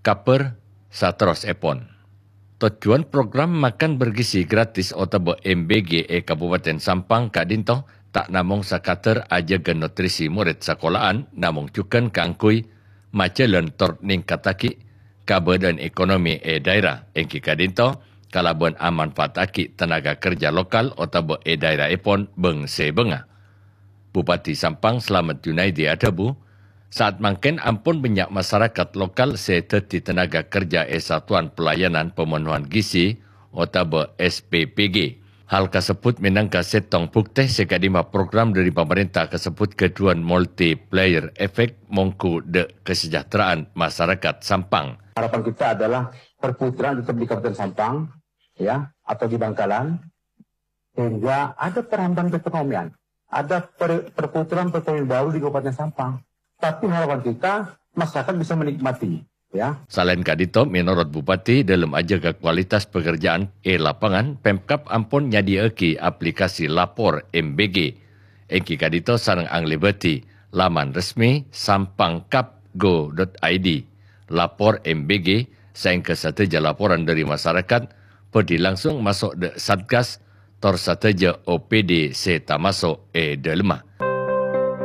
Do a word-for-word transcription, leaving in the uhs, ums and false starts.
Kabhâr saterrossèpon. Tojjhuwân program makan bergizi gratis otabâ M B G è Kabupaten Sampang ka'dinto ta' namong sakadhâr ajâgâ nutrisi morèd sakola'an, namong jhughân kaangghuy majhâlân tor nèngkattaghi kabâdâ'ân ekonomi è dhaèra, èngghi ka'dinto kalabân amanfaataghi tenaga kerja lokal otabâ è dhaèraèpon bâng-sèbângnga. Bupati Sampang Slamet Junaidi adhâbu, saat mangkèn ampon bânnya' masarakat lokal sè dhâddhi tenaga kerja è Satuan Pelayanan Pemenuhan Gizi otabâ S P P G. Hal kasebbhut mènangka sèttong buktè sè ka'dimma program dhâri pamarènta kasebbhut ghâdhuwân multiplier effect mongghu dhâ' kasejahteraan masarakat Sampang. Harapan kita adalah perputaran tetap di Kabupaten Sampang, ya, atau di Bangkalan, sehingga ada penambahan perekonomian, ada per-, perputaran perekonomian baru di Kabupaten Sampang. Tapi harapan kita, masyarakat bisa menikmati, ya. Salaèn ka'dinto, mènorot Bupati, dhâlem ajâgâ kualitas pekerjaan è lapangan, Pemkab ampon nyadhiyâ'aghi aplikasi lapor M B G. Èngghi ka'dinto sareng anglèbâdhi laman resmi sampangkab go dot I D, lapor M B G, saèngghâ sadhâjâ laporan dhâri masarakat bhâdhi langsung maso' dhâ' Satgas, tor sadhâjâ O P D sè tamaso' è dhâlemma.